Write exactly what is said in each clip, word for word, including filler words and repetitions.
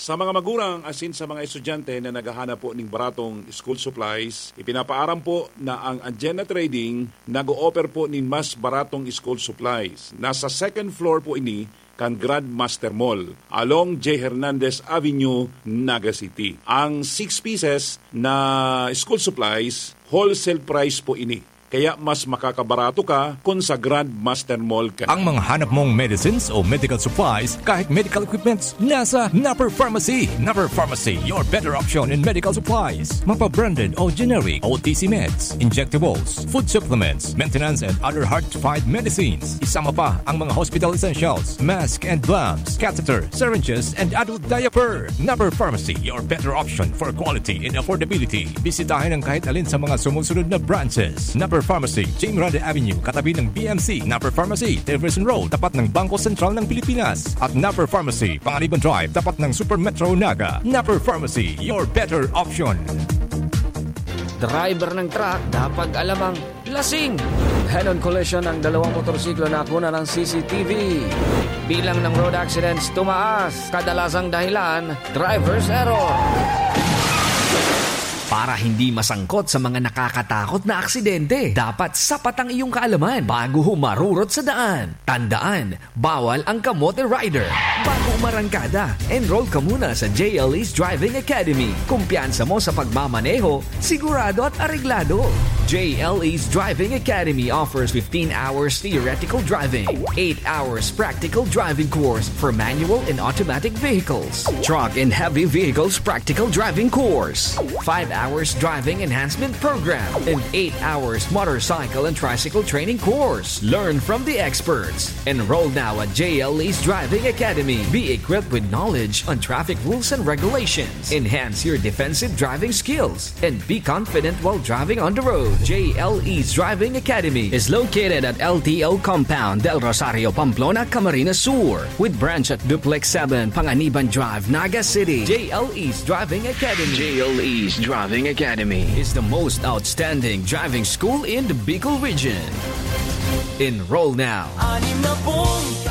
Sa mga magurang asin sa mga estudyante na naghahanap po ning baratong school supplies, ipinapaaram po na ang Agena Trading nag-o-offer po nin mas baratong school supplies. Nasa second floor po ini kan Grandmaster Mall, along J Hernandez Avenue, Naga City. Ang six pieces na school supplies, wholesale price po ini. Kaya mas makakabarato ka kun sa Grandmaster Mall ka. Ang mga hanap mong medicines o medical supplies, kahit medical equipments, nasa Napper Pharmacy. Napper Pharmacy, your better option in medical supplies. Mapa-branded o generic, O T C meds, injectables, food supplements, maintenance and other hard-to-find medicines. Isama pa ang mga hospital essentials, mask and gloves, catheter, syringes, and adult diaper. Napper Pharmacy, your better option for quality and affordability. Bisitahin ang kahit alin sa mga sumusunod na branches. Napper Pharmacy, Jim Rande Avenue, katabi ng B M C. Napper Pharmacy, Jefferson Road, tapat ng Bangko Sentral ng Pilipinas. At Napper Pharmacy, Panganiban Drive, tapat ng Super Metro Naga. Napper Pharmacy, your better option. Driver ng truck, dapat alam ang lasing. Head-on collision ng dalawang motorsiklo na nakuna ng C C T V. Bilang ng road accidents tumaas. Kadalasang dahilan, driver's error. Para hindi masangkot sa mga nakakatakot na aksidente, dapat sapat ang iyong kaalaman bago humarurot sa daan. Tandaan, bawal ang kamote rider. Bago umarangkada, enroll ka muna sa J L E's Driving Academy. Kumpiyansa mo sa pagmamaneho, sigurado at areglado. J L E's Driving Academy offers fifteen hours theoretical driving, eight hours practical driving course for manual and automatic vehicles, truck and heavy vehicles practical driving course, five hours driving enhancement program, and eight hours motorcycle and tricycle training course. Learn from the experts. Enroll now at J L E's Driving Academy. Be equipped with knowledge on traffic rules and regulations. Enhance your defensive driving skills and be confident while driving on the road. J L E's Driving Academy is located at L T O Compound, Del Rosario, Pamplona, Camarines Sur, with branch at Duplex seven, Panganiban Drive, Naga City. J L E's Driving Academy. J L E's Driving Academy is the most outstanding driving school in the Bicol region. Enroll now.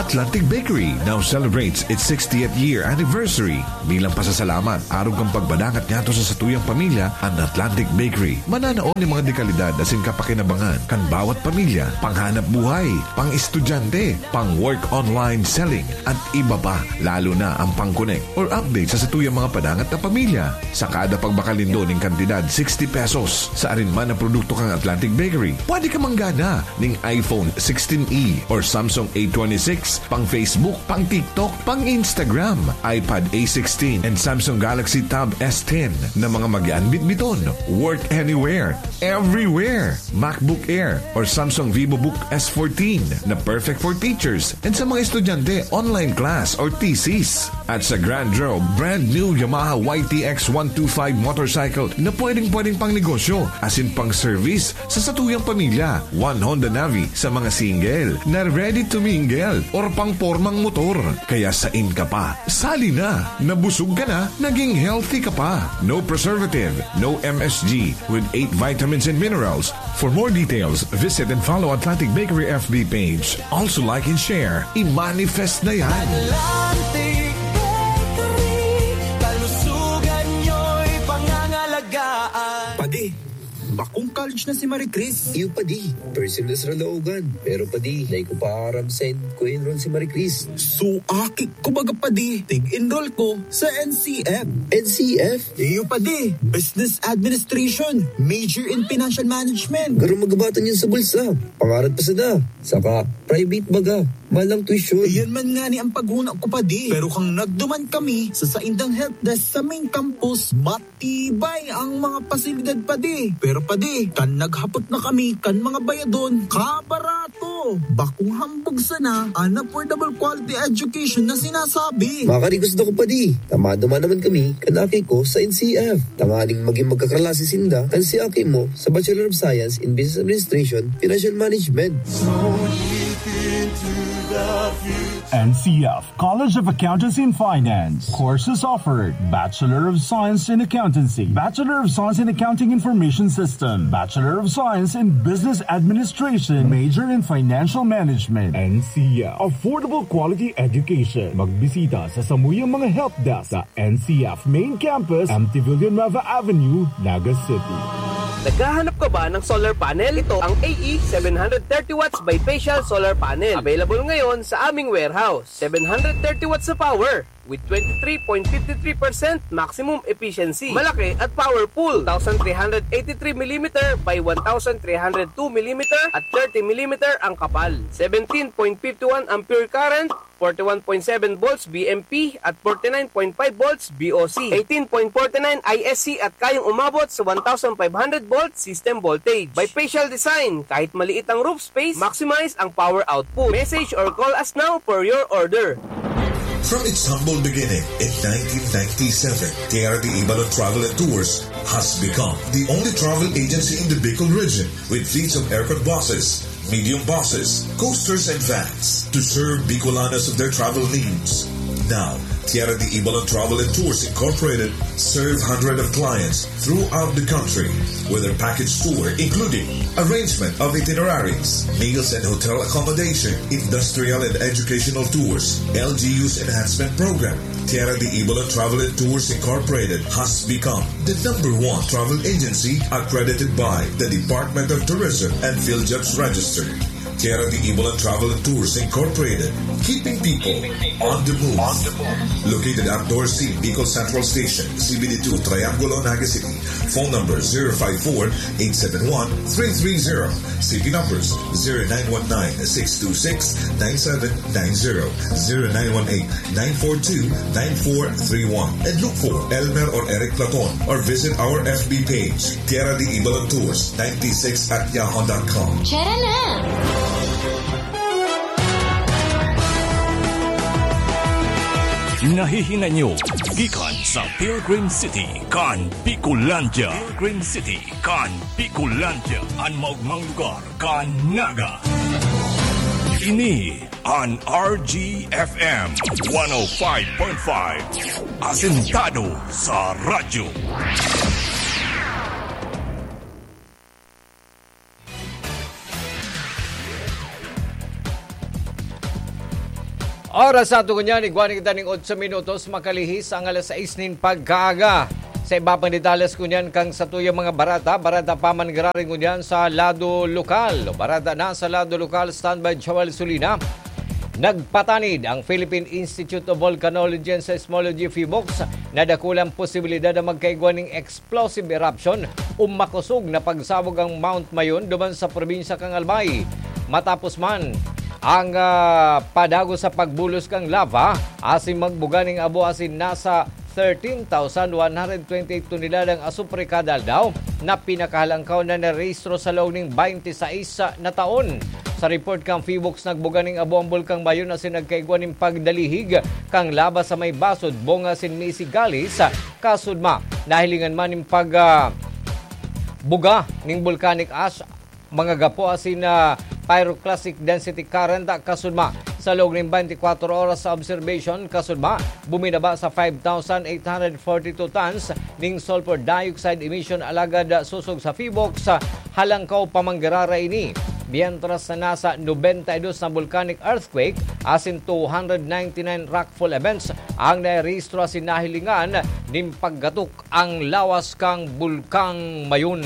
Atlantic Bakery now celebrates its sixtieth year anniversary. Bilang pasasalamat, arog kan pagpadangat niyato sa satuyang pamilya, an Atlantic Bakery mananao nin mga dekalidad asin kapakinabangan kan bawat pamilya, panghanap buhay, pang-estudyante, pang-work online selling, at iba pa, lalo na ang pang-connect or update sa satuyang mga padangat na pamilya. Sa kada pagbakal nindo nin kantidad sixty pesos sa arin man na produkto kan Atlantic Bakery, pwede ka manggana ning iPhone sixteen E or Samsung A twenty-six, pang Facebook, pang TikTok, pang Instagram, iPad A sixteen, and Samsung Galaxy Tab S ten na mga mag-aanbitbiton. Work anywhere, everywhere. MacBook Air or Samsung VivoBook S fourteen na perfect for teachers and sa mga estudyante, online class or thesis. At sa Grand Draw, brand new Yamaha Y T X one two five motorcycle na pwedeng-pwedeng pang negosyo, asin pang service sa satuyang pamilya. One Honda Navi sa mga single na ready to mingle or pang pormang motor. Kaya sain ka pa? Sali na! Nabusog ka na, naging healthy ka pa. No preservative, no M S G, with eight vitamins and minerals. For more details, visit and follow Atlantic Bakery F B page. Also like and share. I-manifest na yan! Atlantic Bakery, kalusugan nyo'y pangangalagaan. Padi, bakong college na si Marie Chris. Iyo, padi. First sem na sa Laogan. Pero, padi, dai ko pa aram saen ko enroll si Marie Chris. So, aki ko baga, padi, tig-enroll ko sa N C F. N C F? Iyo, padi. Business Administration. Major in Financial Management. Garo magabatan yun sa bulsa. Pangarap pa sana. Saka, private baga. Mahal ang tuition. Iyan man nga ni ang paghuna ko, padi. Pero kang nagduman kami sa saindang help desk sa main campus, matibay ang mga pasilidad, padi. Pero, padi, kan naghapot na kami kan mga bayadon, kabarato. Bakong hambog sana an affordable quality education na sinasabi. Makarigos na ko, padi. Tamado man naman kami kan aki ko sa N C F. Tanganing maging magkaklase sinda kan si aki mo sa Bachelor of Science in Business Administration, Financial Management. N C F, College of Accountancy and Finance. Courses offered: Bachelor of Science in Accountancy, Bachelor of Science in Accounting Information System, Bachelor of Science in Business Administration, major in Financial Management. N C F, affordable quality education. Magbisita sa samuyang mga help desk sa N C F Main Campus, M T Villanueva Avenue, Naga City. Naghahanap ka ba ng solar panel? Ito ang A E seven hundred thirty watts bifacial solar panel. Available ngayon sa aming warehouse. Seven hundred thirty watts na power with twenty-three point fifty-three percent maximum efficiency. Malaki at powerful. Two thousand three hundred eighty-three millimeter by one thousand three hundred two millimeter at thirty millimeter ang kapal. Seventeen point fifty-one ampere current, forty-one point seven volts B M P at forty-nine point five volts B O C, eighteen point forty-nine I S C at kayang umabot sa one thousand five hundred volt system voltage. Bifacial design, kahit maliit ang roof space, maximize ang power output. Message or call us now for your order. From its humble beginning in nineteen ninety-seven, Tierra de Ibalon Travel and Tours has become the only travel agency in the Bicol region with fleets of aircon buses, medium buses, coasters, and vans to serve Bicolanos of their travel needs. Now, Tierra de Ibalon Travel and Tours Incorporated serve hundreds of clients throughout the country with their package tour, including arrangement of itineraries, meals and hotel accommodation, industrial and educational tours, L G U's enhancement program. Tierra de Ibalon Travel and Tours Incorporated has become the number one travel agency accredited by the Department of Tourism and PhilJobs Register. Tierra de Ibalon Travel and Tours Incorporated, keeping people on the move. Located at Dorsey, Bicol Central Station, C B D two, Triangulo, Naga City. Phone number zero five four, eight seven one, three three zero. C P numbers zero nine one nine, six two six, nine seven nine zero, zero nine one eight, nine four two, nine four three one. And look for Elmer or Eric Platon or visit our F B page, Tierra de Ibalon Tours ninety-six at yahoo dot com. Tara na! Nahihinay nyo gikan sa Pilgrim City kan Bicolandia. Pilgrim City kan Bicolandia, an maogmang lugar kan Naga. Ini an R G F M one oh five point five, asentado sa radyo. Oras sa ato ngunyan, igwa na kita ning otso minutos, makalihis ang alas sais nin pagkaaga. Sa iba pang detalles ngunyan kan satuyang mga bareta, bareta pa man giraray ngunyan sa lado lokal. Bareta na sa lado lokal, standby Joel Sulina. Nagpatanid ang Philippine Institute of Volcanology and Seismology, PHIVOLCS, na dakulang posibilidad na magkaigwa ning explosive eruption o makosog na pagsabog ang Mount Mayon duman sa probinsya kan Albay. Matapos man ang, ah, padagos sa pagbulos kan lava, asin magbuga ning abo asin nasa thirteen thousand one hundred twenty-eight toneladang asupre kada aldaw na pinakahalangkaw na narehistro sa laog ning twenty-six na taon. Sa report kan PHIVOLCS, nagbuga ning abo ang Bulkang Mayon asin nagkaigwa nin pagdalihig kan laba sa may Basod, Bonga asin Misigales. Kasudma, nahilingan man nin pag, ah, buga ning volcanic ash, mga gapo asin, ah, pyroclastic density current, ah, kasudma. Sa laog nin twenty-four oras sa observation, kasudma, buminaba sa five thousand eight hundred forty-two tons ning sulfur dioxide emission, alagad, ah, sosog sa PHIVOLCS, ah, halangkaw pa man giraray ini. Mientras na nasa nobenta y dos na volcanic earthquake asin two hundred ninety-nine rockfall events ang narehistro asin nahilingan nin paggatok ang lawas kan Bulkang Mayon.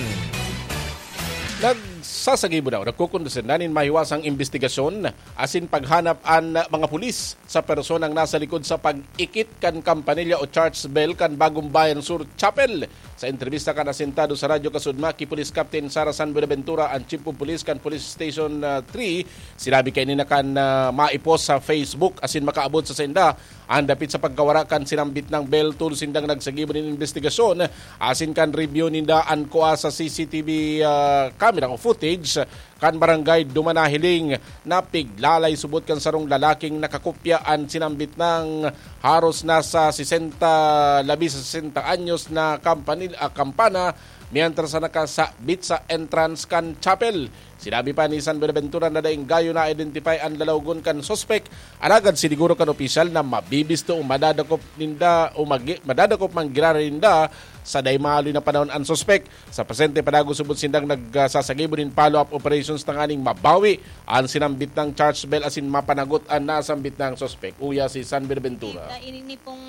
Nagsasagibo daw, nagkukondusir na nin mahiwasang imbestigasyon asin paghanap an mga pulis sa personang nasa likod sa pag-ikit kan kampanilya o church bell kan Bagong Bayan Sur Chapel. Sa entrebista kan asentado sa Radyo Kasudma ki Police Captain Sara San Buenaventura, an Chief of Police kan Police Station, ah, three, sinabi kaini na kan, ah, maipos sa Facebook asin makaabot sa sainda an dapit sa pagkawara kan sinambit nang bell. Tolos sindang nagsagibo nin imbestigasyon asin kan review ninda an kua sa C C T V, ah, camera o footage kan barangay Dumanahiling na piglalay subot kan sarong lalaking nakakopya an sinambit nang haros nasa sesenta, labi sa sesenta anyos na kampanil-, ah, kampana, mientras na nakasabit sa entrance kan chapel. Sinabi pa ni San Buenaventura na daing gayo na-identify an lalawgon kan suspek, alagad siniguro kan opisyal na mabibisto o madadakop ninda o magi-, madadakop man giraray ninda sa dai maaloy na panahon an suspek. Sa presente, padagos subot sindang nagsasagibo nin follow-up operations tanganing mabawi an sinambit nang church bell asin mapanagot an nasambit nang suspek. Uya si San Buenaventura. Kita ini pong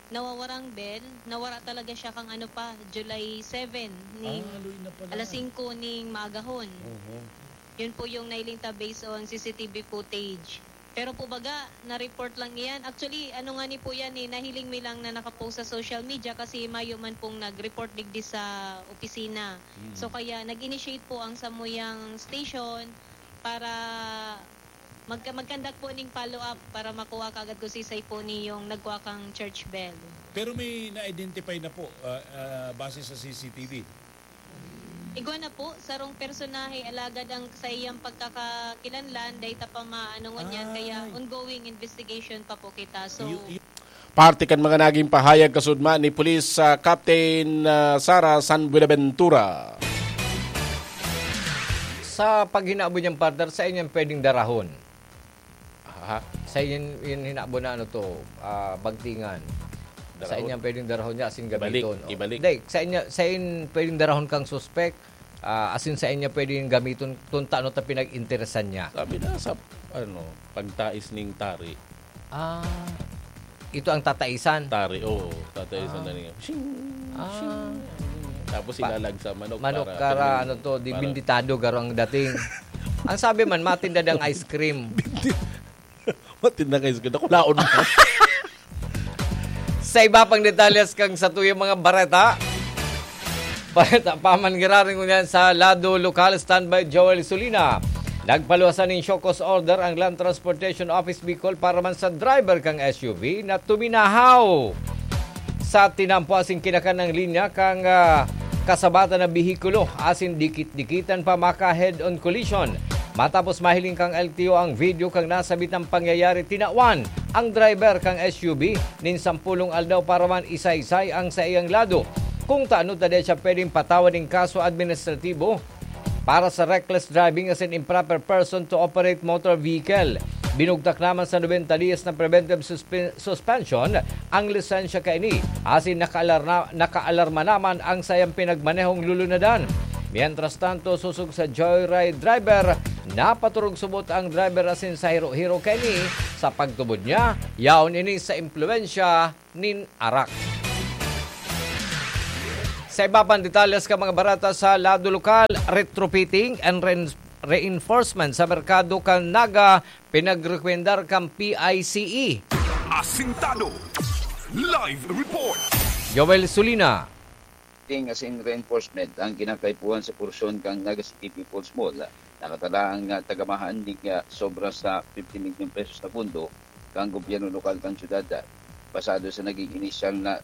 nawawarang bell, nawara talaga siya kang ano pa, July seven, ning Ah, luy na pala. alas singko ning maagahon. Oho. Yun po yung nailing ta based on C C T V footage. Pero po baga, na-report lang iyan. Actually, ano nga ni po yan eh, nahiling mi lang na nakapost sa social media kasi mayo man pong nag-report digdi sa opisina. Mm. So kaya nag-initiate po ang samuyang station para magka- mag-conduct po ning follow-up para makuha kaagad kung sisay po niyong nagkuha kang church bell. Pero may na-identify na po, ah, ah, base sa C C T V? Igwa na po, sarong personahe, alagad ang sa iyang pagkakakilanlan, dai ta pa maano ngunyan, kaya Ay. ongoing investigation pa po kita. So, Y-, y- Parte kan mga naging pahayag kasudma ni Police, ah, Captain, ah, Sara San Buenaventura. Sa paghinabo niyang partner, sa inyong pwedeng darahon. Aha. Sa inyong, yung hinabo na ano to, ah, bagtingan. Sa Darahon. inyong pwedeng darahon niya, asin Ibalik, gamiton. Oh. ibalik. Hindi, sa inyo, sa in, pwedeng darahon kang suspek, ah, asin sa inyo pwedeng gamiton kung taano ta pinag-interesan niya. Sabi na sa, ano, pagtais ning tari. Ah, ito ang tataisan? Tari, oo. Tataisan Ah. na niya. Shing! Ah. Shing! Tapos Pa-, ilalagsa manok manok para kara, ano to, di Para binditado, garo ang dating. Ang sabi man, matinda dang ice cream. Matinda kang ice cream. Nakulaon mo. Sa iba pang detalles kang satuyang mga bareta, bareta pa man giraray ngunyan sa lado lokal, standby Joel Solina. Nagpaluwasan nin show cause order ang Land Transportation Office Bicol para man sa driver kang S U V na tuminahaw sa tinampo asin kinakan ng linya kang, ah, kasabatan na behikulo asin dikit-dikitan pa maka head-on collision. Matapos mahiling kang L T O ang video kang nasabitang pangyayari, tinawan ang driver kang S U V nin sampulong aldaw para man isaysay ang saiyang lado. Kung taano ta dai siya pwedeng patawan nin kaso administratibo, para sa reckless driving asin improper person to operate motor vehicle. Binugtak naman sa nobenta diyas na preventive suspe-, suspension ang lisensya kaini, asin nakaalarna-, nakaalarma naman ang sayang pinagmanehong lulunadan. Mientras tanto, sosog sa joyride driver, napaturog subot ang driver asin sa hiro-hiro kaini sa pagtubod niya, yaon ini sa impluwensya nin arak. Sa iba pang detalles kan mga bareta sa lado lokal, retrofitting and rein-, reinforcement sa merkado kan Naga, pinagrekomendar kan P I C E. Asintado. Live report. Joel Sulina. Ting asin reinforcement ang kinakaipuhan sa porsyon kan Naga City People's Mall. Nakatala ang, ah, tagamahan ning, ah, sobra sa fifty milyon pesos na pondo kan gobyerno lokal kan syudad, ah, basado sa naging inisyal na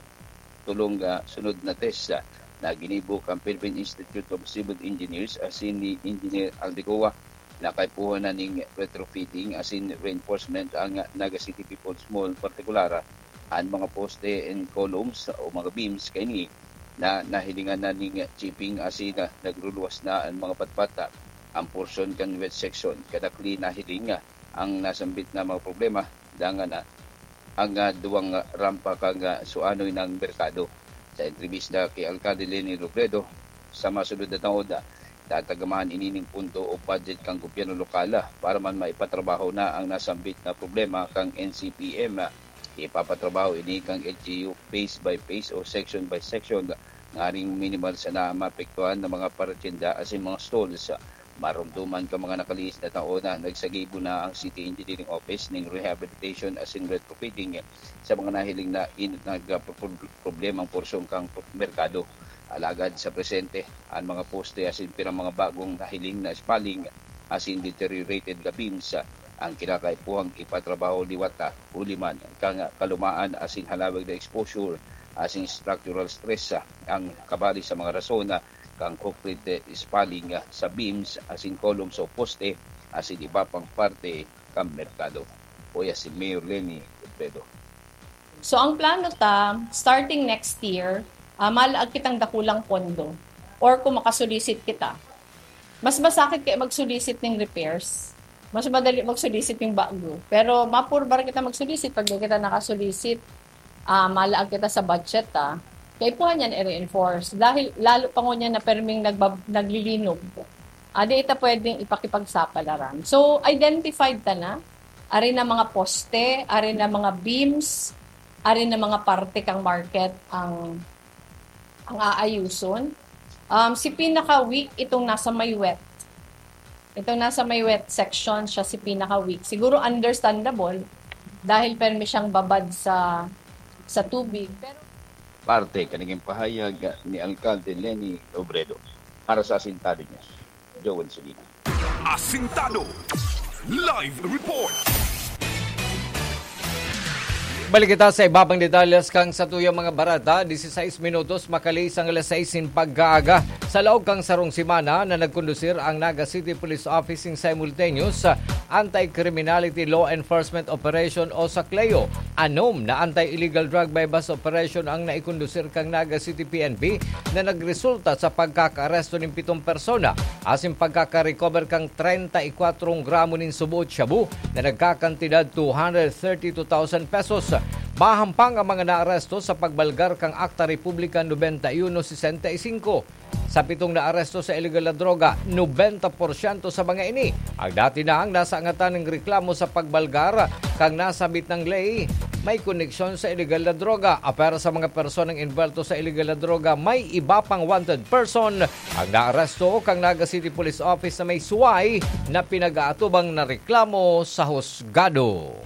tulong, ah, sunod na test, ah, na ginibo kan Philippine Institute of Civil Engineers asin ni Engineer Aldecoa. Nakaipuhan na ning retrofitting asin reinforcement ang, ah, Naga City People's Mall, partikular, ah, an mga poste and columns o mga beams kaini na nahilingan na ning chipping asin, ah, nagruluwas na an mga patpat, ah, an porsyon kan wet section. Kadakli nahiling, ah, ang nasambit na mga problema, dangan, ah, ang, ah, duwang, ah, rampa kan, ah, suanoy nang merkado. Sa entrebista ki Alkalde Leni Robredo, sa masunod na taon, ah, tatagamahan ini nin pondo o budget kan gobyerno lokal, ah, para man maipatrabaho na ang nasambit na problema kan N C P M. Ipapatrabaho ini kan L G U phase by phase o section by section, nganing minimal sana ang maapektuhan na mga paratyenda asin mga stalls. Maromdoman kan mga nakalihis na taon na nagsagibo na ang City Engineering Office ning rehabilitation asin retrofitting sa mga nahiling na in-, nagpro-, problemang porsyon kan merkado. Alagad sa presente, an mga poste asin pirang mga bagong nahiling na spalling asin deteriorated na beams ang kinakaipuhang ipatrabaho liwat, ah, huli man kan kalumaan asin halawig na exposure asin structural stress, ah, ang kabali sa mga rason, ah, kan concrete spalling sa beams asin columns o poste asin iba pang parte kan merkado. Uya si Mayor Leni Robredo. So ang plano ta, starting next year, uh, malaag kitang dakulang pondo or kung makasulisit kita. Mas masakit kaya magsulisit ng repairs. Mas madali magsulisit yung bago. Pero mapurbar kita magsulisit pag di kita nakasulisit, uh, malaag kita sa budget, ah. Kaya po niyan i-reinforce. Dahil lalo pa ngunyan na perming nagbab- naglilinog. Adi ita pwedeng ipakipagsapalaran. So, identified ta na. Ari na mga poste, ari na mga beams, ari na mga parte kang market ang ang aayuson. Um, si pinaka-weak itong nasa may wet. Itong nasa may wet section siya si pinaka-weak. Siguro understandable dahil permi siyang babad sa sa tubig. Pero Parte kaniging pahayag ni Alkalde Leni Robredo. Para sa Asintado News, Joel Sulina. Asintado Live Report. Balik kita sa ibabang detalles kang satuyang mga barata. Disisays minutos makali sang alas sais nin pagkaaga. Sa laog kang sarong semana na nagkondusir ang Naga City Police Office nin simultaneous Anti-Criminality Law Enforcement Operation o sa CLEO. Anom na anti-illegal drug buy-bust operation ang naikondusir kang Naga City P N P na nagresulta sa pagkakaaresto nin pitong persona asin pagkaka-recover kang treinta y cuatro gramo nin suboot shabu na nagkakantidad two hundred thirty-two thousand pesos. Mahampang ang mga naaresto sa pagbalgar kang Akta Republika noventa y uno sesenta y cinco. Sa pitong naaresto sa illegal na droga, nobenta porsyento sa mga ini ang dati nang nasangatan nin reklamo sa pagbalgar kan nasambit na ley may koneksyon sa illegal na droga. Apwera sa mga personang envuelto sa illegal na droga, may iba pang wanted person ang naaresto kan Naga City Police Office na may suway na pinag-aatubang na reklamo sa husgado.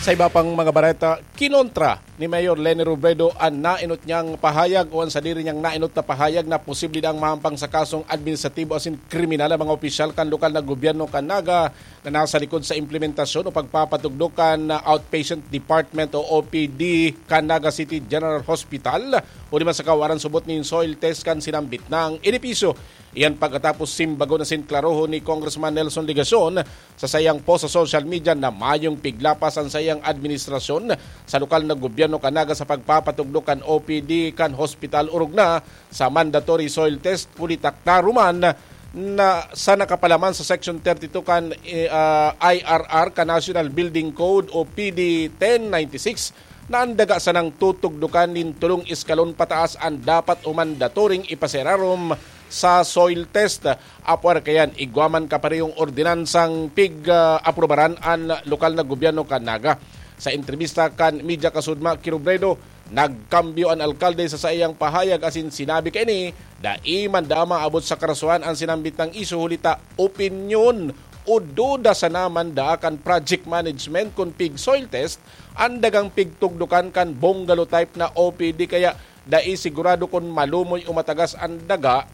Sa iba pang mga bareta, kinontra ni Mayor Leni Robredo an nainot niyang pahayag o an sadiri niyang nainot na pahayag na posible daang mahampang sa kasong administratibo asin kriminal ang mga opisyal kan lokal na gobyerno kan Naga na nasa likod sa implementasyon o pagpapatugdok kan Outpatient Department o O P D kan Naga City General Hospital o di man sa kawaran subot nin soil test kan sinambit nang edipisyo. Iyan pagkatapos simbagon asin klarohon ni Congressman Nelson Legacion sa saiyang post sa social media na mayong piglapas an saiyang administrasyon sa lokal na gobyerno kan Naga sa pagpapatugdok kan O P D kan hospital orog na sa mandatory soil test huli ta klaro man na sa nakapalaman sa Section thirty-two kan, eh, ah, I R R kan National Building Code o P D ten ninety-six na an daga sanang tutugdokan nin tolong eskalon pataas an dapat o mandatoring ipasirarom sa soil test. Apwera kayan, igwa man kaparehong ordinansang pig-aprobaran an lokal na gobyerno kan Naga. Sa entrebista kan media kasudma ki Robredo, nagkambyo an alkalde sa saiyang pahayag asin sinabi kaini, dai man daa maabot sa karasohan an sinambit nang isyu huli ta opinyon o duda sana man daa kan project management kun pig soil test an dagang pigtugdokan kan bungalow type na O P D kaya dai sigurado kun malumoy o matagas an daga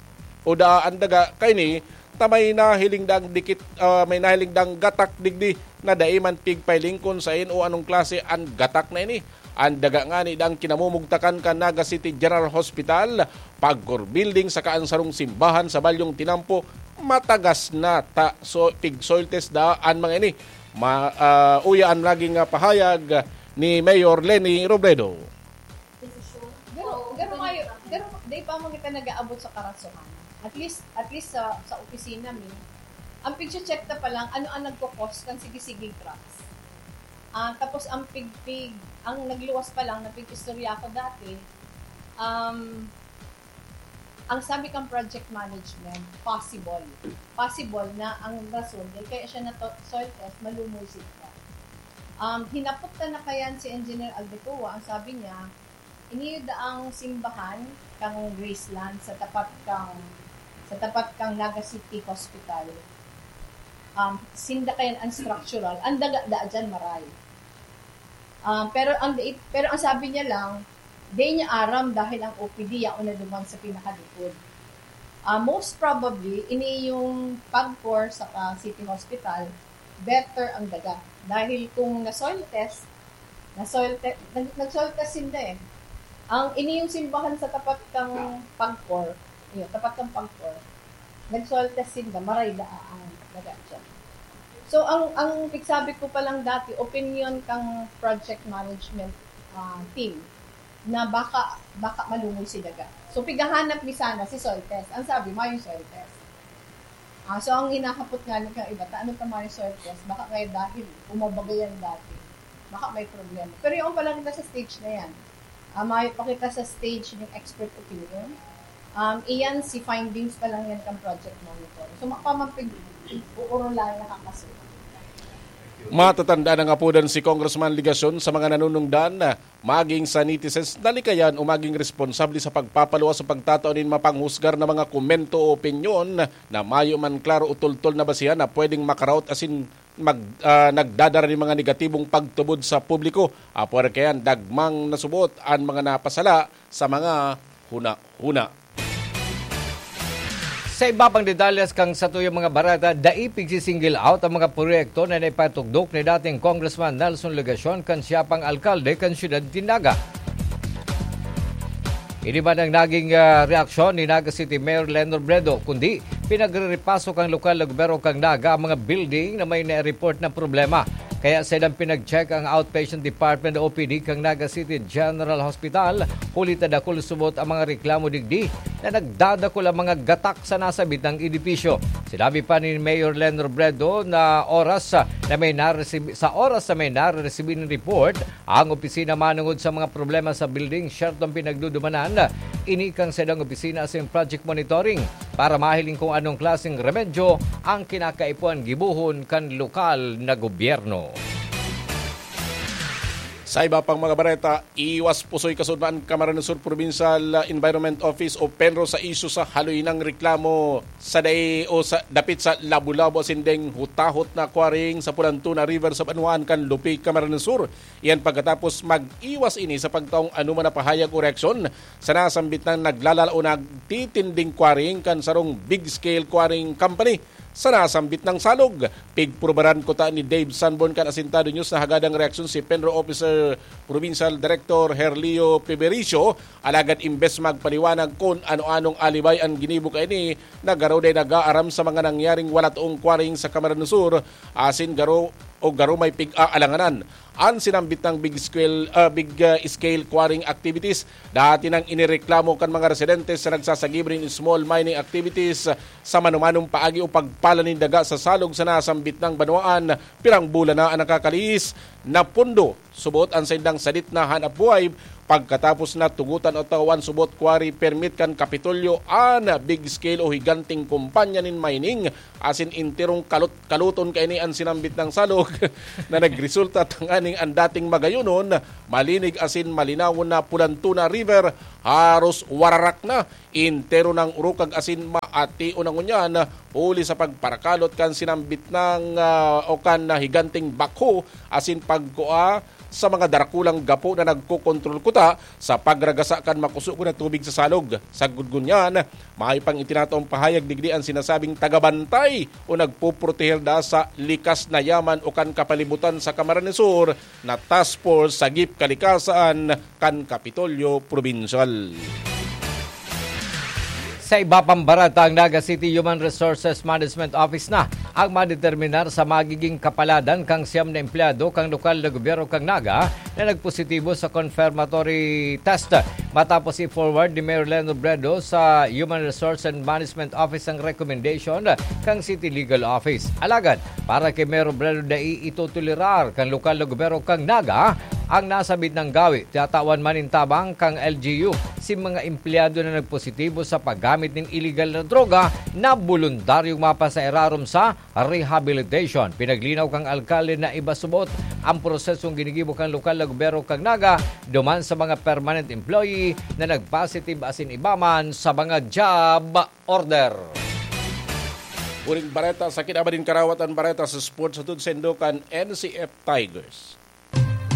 o daa an daga kaini ta may nahiling daang dikit, ah, may nahiling daang gatak digdi na dai man pigpahiling kun saen o anong klase an gatak na ini. An daga ngani daang kinamumugtakan kan Naga City General Hospital, Pagcor Building saka an sarong simbahan sa Balyong Tinampo matagas na ta so, pig soil test daa an mga ini. Ma, ah, uya an naging, ah, pahayag ni Mayor Leni Robredo. Pero, pero, mayo, pero di pa man kita nag-aabot sa karasohan. At least, at least sa, sa opisina mi, ang picture check ta pa lang, ano ang nagkakos kan sige-sige drugs. Ah, tapos ang pigpig, ang nagluwas pa lang, napig-istorya ko dati, um, ang sabi kang project management, possible. Possible na ang rason, dahil kaya siya na soil test, malumoy siya. Um, hinapot ta na kayan si Engineer Aldecoa, ang sabi niya, ini daang simbahan kang Graceland sa tapat kang sa tapat kang Naga City Hospital. Um, sinda kayan ang structural, ang daga daa dyan maray. Um, pero ang dai- pero ang sabi niya lang, di niya aram dahil ang O P D yaon na duman sa pinakalikod. Ah, most probably, ini yung Pagcor sa City Hospital, better ang daga. Dahil kung na-soil test, na-soil te- nag- nag-soil test sinda eh. Ang ini yung simbahan sa tapat kang Pagcor, yun, tapat kang Pagcor, nag-soil test sinda, maray da, ah, ah, daga dyan. So, ang, ang pigsabi ko pa lang dati, opinion kang project management, ah, team, na baka, baka malungoy si daga. So, pigahanap mi sana si soil test. Ang sabi, mayo soil test. Ah, so, ang hinahapot nga ni kang iba, ta, ano ta mayo soil test? Baka kaya dahil umabagayan dati, baka may problema. Pero yung pa lang kita sa stage na yan. Ah, mayo pa kita sa stage ng expert opinion. Um, iyan, si findings pa lang yan kang project monitor. So, mapamampig, uuro lang nakakasulat. Matatandaan na nga po dan si Congressman Legacion sa mga nanunungdan na maging sa netizens na likayan o maging responsable sa pagpapaluwas o pagtatao nin mapanghusgar na mga komento o opinyon na mayo man klaro o tultol na basihan na pwedeng makaraot asin mag-, ah, nagdadara nin mga negatibong pagtubod sa publiko. Apwera kayan, dagmang nasubot an mga napasala sa mga huna-huna. Sa iba pang detalles kan satuyang mga bareta, dai pigsi-single out ang mga proyekto na naipatugdok ni dating Congressman Nelson Legacion kan siya pang alkalde kan siyudad nin Naga. Ini man ang naging, ah, reaksyon ni Naga City Mayor Len Robredo, kundi pinagre-repaso kan lokal na gobyerno kan Naga ang mga building na may na-report na problema. Kaya sa ilang pinag-check ang outpatient department o O P D kan Naga City General Hospital, huli ta dakul subot ang mga reklamo digdi na nagdadakul ang mga gatak sa nasabitang edipisyo. Sinabi pa ni Mayor Len Robredo na oras, ah, na may naresibi-, sa oras na may naresibi nin report ang opisina manungod sa mga problema sa building, siyertong pinagdudumanan ini kan saindang opisina asin project monitoring para mahiling kung anong klaseng remedyo ang kinakaipuhan gibohon kan lokal na gobyerno. Sa iba pang mga bareta, iwas pusoy kasudmaan Camarines Sur Provincial Environment Office o PENRO sa isyu sa haloy nang reklamo sa dai o sa dapit sa labo-labo asin deng hutahot na quarrying sa Pulantuna River sa banwaan kan Lupi, Camarines Sur. Iyan pagkatapos mag-iwas ini sa pagtaong anoman na pahayag o reaksyon sa nasambit nang naglalala o nagtitinding quarrying kan sarong big scale quarrying company sa nasambit nang salog. Pigprubaran ko ta ni Dave Sanborn kan Asintado News na hagadang reaksyon si PENRO Officer Provincial Director Herlio Pibericio, alagad imbes magpaliwanag kun ano-anong alibay an ginibo kaini, na garo dai nag-aaram sa mga nangyaring wala toong quarrying sa Camarines Sur, asin garo o garo may pig-aalanganan. An sinambit nang big scale, ah, big, ah, scale quarrying activities, dati nang inireklamo kan mga residente sa nagsasagib nin small mining activities sa manumanong paagi o pagpala nin daga sa salog sa nasambit nang banwaan, pirang bulan na an nakakalihis na pondo. Subot an saindang sadit na hanapbuhay pagkatapos na tugotan o tawan subot quarry permit kan Kapitolyo an big scale o higanteng kumpanya nin mining asin enterong kalot-kaloton kaini an sinambit nang salog na nagresulta tanganing an dating magayonon, malinig asin malinawon na Pulantuna River haros wararak na, entero nang urukag asin maation na ngunyan huli sa pagparakalot kan sinambit nang, ah, o kan na higanteng bakho asin pagkua sa mga darakulang gapo na nagkokontrol kuta sa pagragasa kan makusog na tubig sa salog. Sagkod ngunyan, mayo pang itinataong pahayag digdi an sinasabing tagabantay o nagpoproteher da sa likas na yaman o kan kapalibutan sa Camarines Sur na Task Force Sagip Kalikasan kan Kapitolyo Probinsyal. Sa iba pang bareta, ang Naga City Human Resources Management Office na ang madeterminar sa magiging kapaladan kan siyam na empleyado kan lokal na gobyerno kan Naga na nagpositibo sa confirmatory test, matapos i-forward ni Mayor Len Robredo sa Human Resource and Management Office ang recommendation kan City Legal Office. Alagad, para kay Mayor Robredo, dai itotolerar kan lokal na gobyerno kan Naga ang nasambit na gawi. Tinatawan man nin tabang kan L G U si mga empleyado na nagpositibo sa paggamit nin iligal na droga na boluntaryong mapasairarom sa rehabilitation. Pinaglinaw kan alkalde na iba subot ang prosesong ginigibo kan lokal na gobyerno kan Naga duman sa mga permanent employee na nagpositive asin iba man sa mga job order. Huring bareta sa kinaban nin karawatan, bareta sa sports hatod saindo kan N C F Tigers.